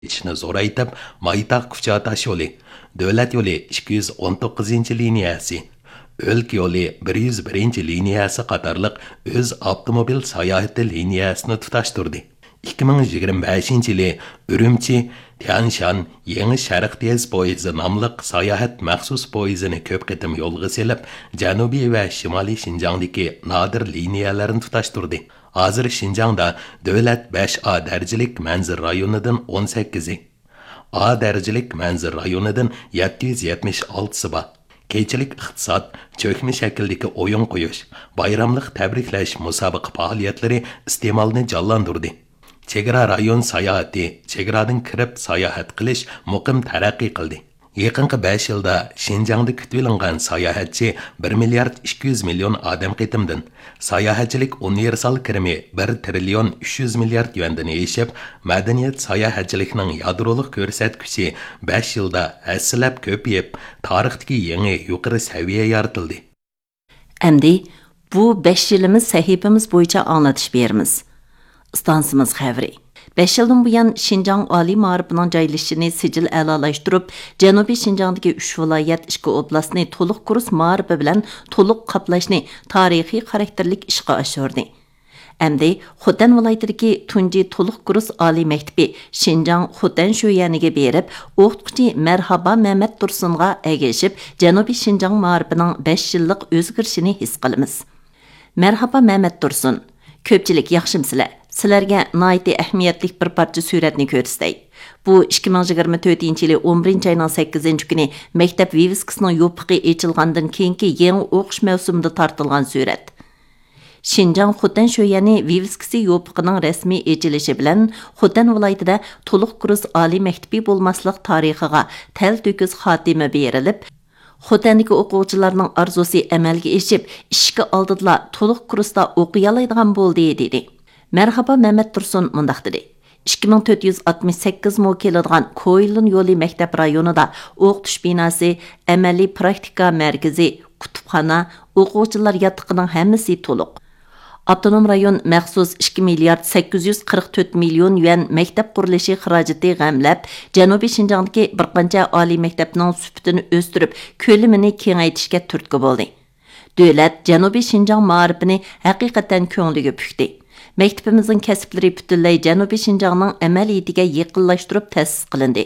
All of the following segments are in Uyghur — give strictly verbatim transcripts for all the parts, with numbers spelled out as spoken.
ئېچىشنى زورايتىپ، مايتاغ كۇچا تاشيولى، دۆلەت يولى ئىككى يۈز ئون توققۇزىنچى لىنىيەسى، ئۆلكە يولى بىر يۈز بىرىنچى لىنىيەسى قاتارلىق ئۆز ئاپتوموبىل ساياھىتى لىنىيەسىنى تۇتاشتۇردى. ئىككى مىڭ يىگىرمە بەشىنچى يىلى ئۈرۈمچى، تيەنشان يېڭى شەرق تېز پويىزى ناملىق ساياھەت مەخسۇس پويىزىنى كۆپ قېتىم يولغا سېلىپ، جەنۇبىي ۋە شىمالىي شىنجاڭدىكى نادىر لىنىيەلەرنى تۇتاشتۇردى. ھازىر شىنجاڭدا دۆلەت بەش ئا دەرىجىلىك مەنزىرە رايونىدىن ئون سەككىزى، ئا دەرىجىلىك مەنزىرە رايونىدىن يەتتە يۈز يەتمىش ئالتىسى بار. كېچىلىك ئىقتىساد، چۆكمە شەكىلدىكى ئويۇن قويۇش، بايراملىق تەبرىكلەش مۇسابىقە پائالىيەتلىرى ئىستېمالنى جانلاندۇردى. چېگرا رايون ساياھىتى، چېگرادىن كىرىپ ساياھەت قىلىش مۇقىم تەرەققىي قىلدى. يېقىنقى بەش يىلدا شىنجاڭدا كۈتۈۋېلىنغان ساياھەتچى بىر مىليارد ئىككى يۈز مىليون ئادەم قېتىمدىن، ساياھەتچىلىك ئۇنىۋېرسال كىرىمى بىر تىرىليون ئۈچ يۈز مىليارد يۈەندىن ئېشىپ، مەدەنىيەت ساياھەتچىلىكنىڭ يادرولۇق كۆرسەتكۈچى بەش يىلدا ھەسسىلەپ كۆپىيىپ، تارىختىكى يېڭى يۇقىرى سەۋىيە يارىتىلدى. ئەمدى بۇ بەش يىلىمىز سەھىپىمىز بويىچە ئاڭلىتىش بېرىمىز. ئىستانسىمىز خەۋىرى. بەش يىلدىن بۇيان شىنجاڭ ئالىي مائارىپىنىڭ جايلىشىشىنى سىجىل ئەلالاشتۇرۇپ، جەنۇبىي شىنجاڭدىكى ئۈچ ۋىلايەت، ئىككى ئوبلاستنى تولۇق كۇرس مائارىپى بىلەن تولۇق قاپلاشنى تارىخىي خاراكتېرلىك ئىشقا ئاشۇردى. ئەمدى خوتەن ۋىلايىتىدىكى تۇنجى تولۇق كۇرس ئالىي مەكتىپى شىنجاڭ خوتەن شۆيەنىگە بېرىپ، ئوقۇتقۇچى مەرھابا مەمەت تۇرسۇنغا ئەگىشىپ، جەنۇبىي شىنجاڭ مائارىپىنىڭ بەش يىللىق ئۆزگىرىشىنى ھېس قىلىمىز. مەرھابا مەمەت تۇرسۇن. كۆپچىلىك ياخشىمسىلەر؟ سىلەرگە ناھايىتى ئەھمىيەتلىك بىر پارچە سۈرەتنى كۆرسىتەي. بۇ ئىككى مىڭ يىگىرمە تۆتىنچى يىلى ئون بىرىنچى ئاينىڭ سەككىزىنچى كۈنى مەكتەپ ۋىۋىسكىسىنىڭ يوپۇقى ئېچىلغاندىن كېيىنكى يېڭى ئوقۇش مەۋسۇمىدا تارتىلغان سۈرەت. شىنجاڭ خوتەن شۆيەنى ۋىۋىسكىسى يوپۇقىنىڭ رەسمىي ئېچىلىشى بىلەن خوتەن ۋىلايىتىدە تولۇق كۇرس ئالىي مەكتىپى بولماسلىق تارىخىغا تەلتۆكۈس خاتىمە بېرىلىپ، خوتەندىكى ئوقۇغۇچىلارنىڭ ئارزۇسى ئەمەلگە ئېشىپ، ئىشىكى ئالدىدىلا تولۇق كۇرستا ئوقۇيالايدىغان بولدى، دېدى. مەرھابا مەمەت تۇرسۇن مۇنداق دېدى: ئىككى مىڭ تۆت يۈز ئاتمىش سەككىز مو كېلىدىغان كويلۇن يولى مەكتەپ رايونىدا ئوقۇتۇش بىناسى، ئەمەلىي پراكتىكا مەركىزى، كۇتۇپخانا، ئوقۇغۇچىلار ياتىقىنىڭ ھەممىسى تولۇق. ئاپتونوم رايون مەخسۇس ئىككى مىليارد سەككىز يۈز قىرىق تۆت مىليون يۈەن مەكتەپ قۇرۇلۇشى خىراجىتى غەملەپ، جەنۇبىي شىنجاڭدىكى بىر قانچە ئالىي مەكتەپنىڭ سۈپىتىنى ئۆستۈرۈپ، كۆلىمىنى كېڭەيتىشكە تۈرتكە بولدى. دۆلەت جەنۇبىي شىنجاڭ مائارىپىنى ھەقىقەتەن كۆڭلىگە پۈكتى. مەكتىپىمىزنىڭ كەسىپلىرى پۈتۈنلەي جەنۇبىي شىنجاڭنىڭ ئەمەلىيىتىگە يېقىنلاشتۇرۇپ تەسىس قىلىندى.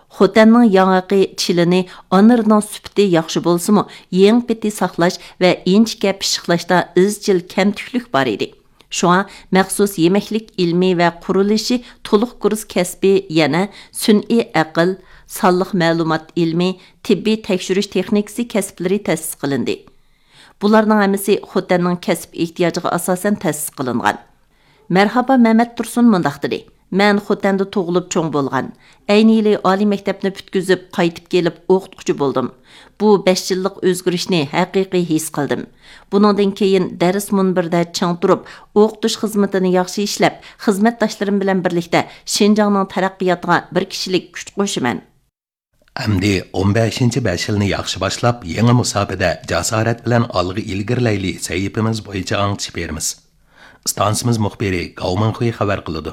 خوتەننىڭ ياڭاقى چىلىنى ئانىرىنىڭ سۈپىتى ياخشى بولسىمۇ، يېڭى پېتى ساقلاش ۋە ئىنچىكە پىششىقلاشتا ئىزچىل كەمتۈكلۈك بار ئىدى. شۇڭا مەخسۇس يېمەكلىك ئىلمى ۋە قۇرۇلۇشى تولۇق كۇرس كەسپى، يەنە سۈنئىي ئەقىل، سانلىق مەلۇمات ئىلمى، تېببىي تەكشۈرۈش تېخنىكىسى كەسىپلىرى تەسىس قىلىندى. بۇلارنىڭ ھەممىسى خوتەننىڭ كەسىپ ئېھتىياجىغا ئاساسەن تەسىس قىلىنغان. مەرھابا مەمەت تۇرسۇن مۇنداق دېدى: مەن خوتەندە تۇغۇلۇپ چوڭ بولغان. ئەينى يىلى ئالىي مەكتەپنى پۈتكۈزۈپ، قايتىپ كېلىپ ئوقۇتقۇچى بولدۇم. بۇ بەش يىللىق ئۆزگىرىشنى ھەقىقىي ھېس قىلدىم. بۇنىڭدىن كېيىن دەرس مۇنبىرىدە چىڭ تۇرۇپ، ئوقۇتۇش خىزمىتىنى ياخشى ئىشلەپ، خىزمەتداشلىرىم بىلەن بىرلىكتە شىنجاڭنىڭ تەرەققىياتىغا بىر كىشىلىك كۈچ قوشىمەن. ئەمدى ئون بەشىنچى بەش يىلنى ياخشى باشلاپ، يېڭى مۇساپىدە جاسارەت بىلەن ئالغا ئىلگىرىلەيلى سەھىپىمىز بويىچە ئاڭلىتىش بېرىمىز. ئىستانسىمىز مۇخبىرى گاۋ مىڭخۇي خەۋەر قىلىدۇ.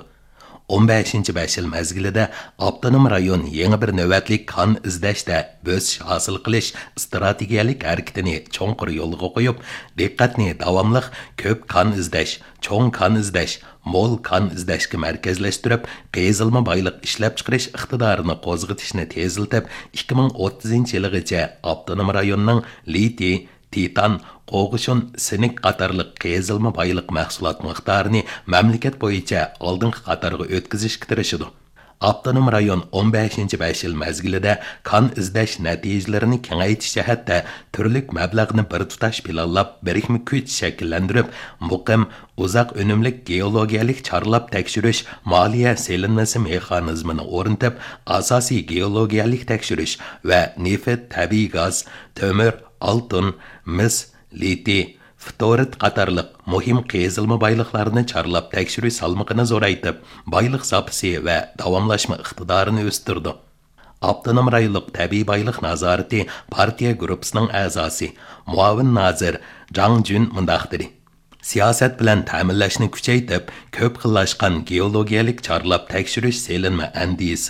ئون بەشىنچى بەش يىل مەزگىلىدە ئاپتونوم رايون يېڭى بىر نۆۋەتلىك كان ئىزدەشتە بۆسۈش ھاسىل قىلىش ئىستراتېگىيەلىك ھەرىكىتىنى چوڭقۇر يولغا قويۇپ، دىققەتنى داۋاملىق كۆپ كان ئىزدەش، چوڭ كان ئىزدەش، مول كان ئىزدەشكە مەركەزلەشتۈرۈپ، قېزىلما بايلىق ئىشلەپچىقىرىش ئىقتىدارىنى قوزغىتىشنى تېزلىتىپ، ئىككى مىڭ ئوتتۇزىنچى يىلىغىچە ئاپتونوم رايوننىڭ لىتىي، تىتان، قوغۇشۇن، سىنك قاتارلىق قېزىلما بايلىق مەھسۇلات مىقدارىنى مەملىكەت بويىچە ئالدىنقى قاتارغا ئۆتكۈزۈشكە تىرىشىدۇ. ئاپتونوم رايون ئون بەشىنچى بەش يىل مەزگىلىدە كان ئىزدەش نەتىجىلىرىنى كېڭەيتىش جەھەتتە تۈرلۈك مەبلەغنى بىر تۇتاش پىلانلاپ، بىرىكمە كۈچ شەكىللەندۈرۈپ، مۇقىم، ئۇزاق ئۈنۈملۈك گېئولوگىيەلىك چارلاپ تەكشۈرۈش مالىيە سېلىنمىسى مېخانىزمىنى ئورنىتىپ، ئاساسىي گېئولوگىيەلىك تەكشۈرۈش ۋە نېفىت، تەبىئىي گاز، تۆمۈر، ئالتۇن، مىس، لىتىي، فلورىد قاتارلىق مۇھىم قېزىلما بايلىقلارنى چارلاپ تەكشۈرۈش سالمىقىنى زورايتىپ، بايلىق زاپىسى ۋە داۋاملاشما ئىقتىدارىنى ئۆستۈردى. ئاپتونوم رايونلۇق تەبىئىي بايلىق نازارىتى پارتىيە گۇرۇپپىسىنىڭ ئەزاسى، مۇئاۋىن نازىر جاڭ جۈن مۇنداق دېدى: سىياسەت بىلەن تەمىنلەشنى كۈچەيتىپ، كۆپ خىللاشقان گېئولوگىيەلىك چارلاپ تەكشۈرۈش سېلىنما ئەندىزىسىنى